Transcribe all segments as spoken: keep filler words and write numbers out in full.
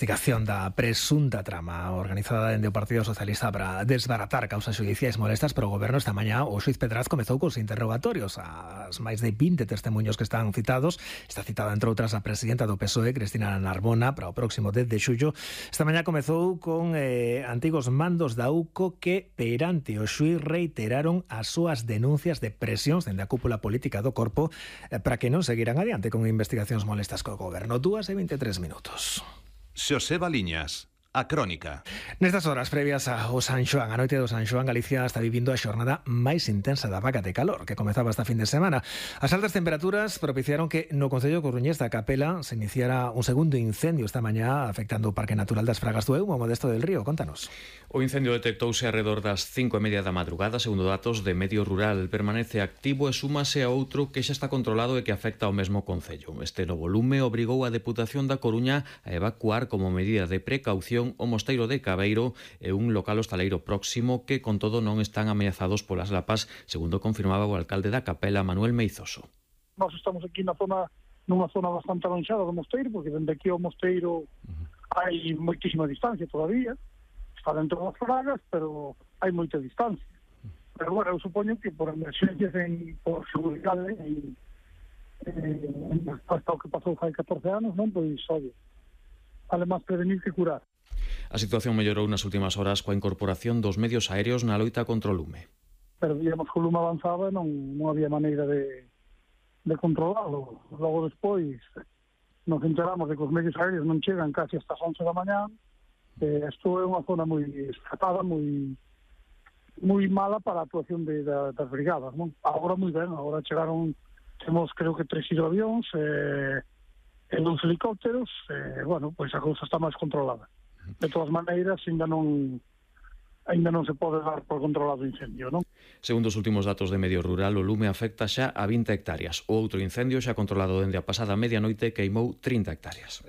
investigación da presunta trama organizada dende o Partido Socialista para desbaratar causas xudiciais molestas para o goberno. Esta mañá o xuiz Pedraz comezou cos interrogatorios as máis de vinte testemunhos que están citados. Está citada, entre outras, a presidenta do P S O E, Cristina Narbona, para o próximo dez de xullo. Esta mañá comezou con eh, antigos mandos da U C O que, perante o xuiz, reiteraron as súas denuncias de presións dende a cúpula política do corpo eh, para que non seguiran adiante con investigacións molestas co goberno. Dúas e veintitrés minutos. Xosé Baliñas, a crónica. Nestas horas previas ao San Xoán, a noite do San Xoán, Galicia está vivindo a xornada máis intensa da vaga de calor que comezaba esta fin de semana. As altas temperaturas propiciaron que no concello coruñés da Capela se iniciara un segundo incendio esta mañá afectando o Parque Natural das Fragas do Eumo, Modesto del Río. Contanos. O incendio detectouse alrededor das cinco e media da madrugada, segundo datos de Medio Rural. Permanece activo e súmase a outro que xa está controlado e que afecta ao mesmo concello. Este novo lume obrigou a Deputación da Coruña a evacuar como medida de precaución o mosteiro de Cabeiro e un local hostaleiro próximo que, con todo, non están ameazados polas lapas, segundo confirmaba o alcalde da Capela, Manuel Meizoso. Nós estamos aquí na zona, nunha zona bastante alonxada do mosteiro, porque dende aquí ao mosteiro uh-huh. hai moitísima distancia todavía. Está dentro das fragas, pero hai moita distancia. Pero, bueno, eu supoño que por emerxencias, en, por seguridade, en, en, hasta o que pasou hai catorce anos, non? Pois, oye, vale máis prevenir que curar. A situación mellorou nas últimas horas coa incorporación dos medios aéreos na loita contra o lume. Pero digamos que o lume avanzaba e non, non había maneira de, de controlarlo. Logo despois nos enteramos de que os medios aéreos non chegan casi hasta as once da mañá. Eh, isto é unha zona moi escapada, moi moi mala para a actuación de, de, das brigadas, non? Agora moi ben, agora chegaron, temos creo que tres hidroavións eh, e dous helicópteros, eh, bueno, pois a cousa está máis controlada. De todas maneiras, ainda non ainda non se pode dar por controlado o incendio, non? Segundo os últimos datos de Medio Rural, o lume afecta xa a vinte hectáreas. O outro incendio xa controlado dende a pasada medianoite queimou trinta hectáreas.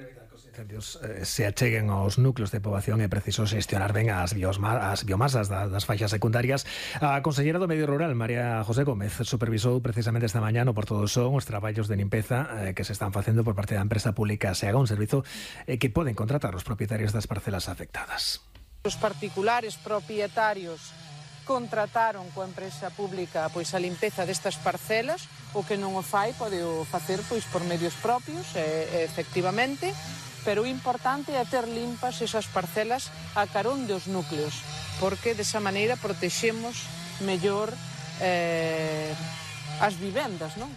Incendios eh, se acheguen aos núcleos de poboación é preciso xestionar ben as, biosma, as biomasas da, das faixas secundarias. A conselleira do Medio Rural, María José Gómez, supervisou precisamente esta mañá no Porto do Son os traballos de limpeza eh, que se están facendo por parte da empresa pública SEAGA, un servizo eh, que poden contratar os propietarios das parcelas afectadas. Os particulares propietarios contrataron coa empresa pública pois a limpeza destas parcelas, o que non o fai pode o facer pois por medios propios, eh, efectivamente, pero o importante é ter limpas esas parcelas a carón dos núcleos, porque desa maneira protexemos mellor eh, as vivendas, non?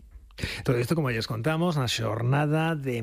Todo isto, como lles contamos, na xornada de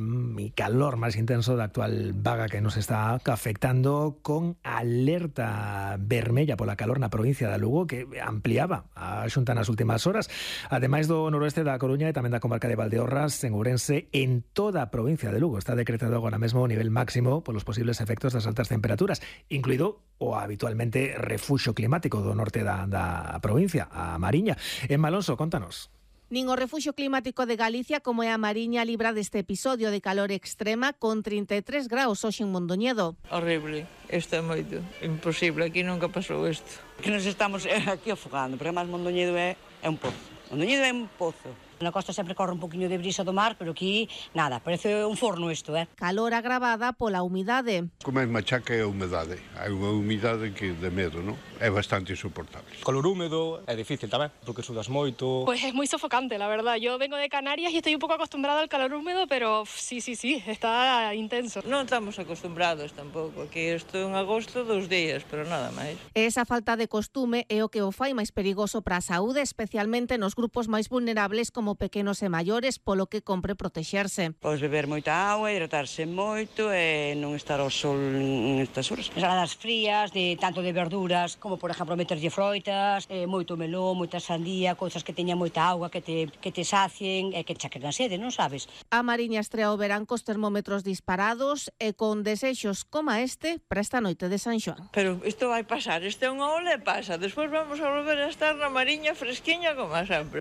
calor máis intenso da actual vaga que nos está afectando, con alerta vermella pola calor na provincia de Lugo, que ampliaba a Xunta nas últimas horas, ademais do noroeste da Coruña e tamén da comarca de Valdeorras, en Ourense. En toda a provincia de Lugo está decretado agora mesmo o nivel máximo polos posibles efectos das altas temperaturas, incluído o habitualmente refuxio climático do norte da, da provincia, a Mariña. En Malonso, contanos. Nin o Refuxio Climático de Galicia como é a Mariña libra deste episodio de calor extrema con trinta e tres graus hoxe en Mondoñedo. Horrible, isto é moito, imposible, aquí nunca pasou isto. Que nos estamos aquí afogando, porque máis Mondoñedo é, é un pozo. Mondoñedo é un pozo. Na costa sempre corre un poquinho de brisa do mar, pero aquí, nada, parece un forno isto, eh? Calor agravada pola humidade. Como é machaca é a humidade. Hai unha humidade que de medo, non? É bastante insoportable. Calor húmedo é difícil tamén, porque sudas moito. Pues es muy sofocante, la verdad. Yo vengo de Canarias y estoy un poco acostumbrada al calor húmedo, pero sí, sí, sí, está intenso. Non estamos acostumbrados tampouco. Aquí estou en agosto dos días, pero nada máis. Esa falta de costume é o que o fai máis perigoso para a saúde, especialmente nos grupos máis vulnerables como pequenos e maiores, polo que compre protexerse. Podes beber moita auga, hidratarse moito e non estar ao sol nestas horas. Ensaladas frías, de tanto de verduras, como por exemplo meterlle froitas, eh, moito melón, moita sandía, cousas que teñan moita auga, que te, que te sacien e que chaquen a sede, non sabes? A Mariña estrea o verán cos termómetros disparados e con desexos como este para esta noite de San Xoán. Pero isto vai pasar, este é unha ola e pasa. Despois vamos a volver a estar na Mariña fresquiña como sempre.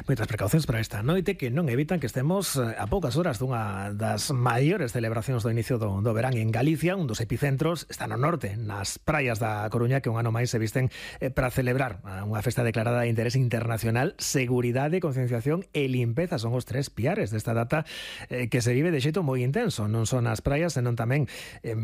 Moitas precaucións para esta noite que non evitan que estemos a poucas horas dunha das maiores celebracións do inicio do, do verán en Galicia. Un dos epicentros está no norte, nas praias da Coruña, que un ano máis se visten eh, para celebrar unha festa declarada de interés internacional. Seguridade, concienciación e limpeza son os tres piares desta data eh, que se vive de xeito moi intenso, non son as praias, senón tamén eh,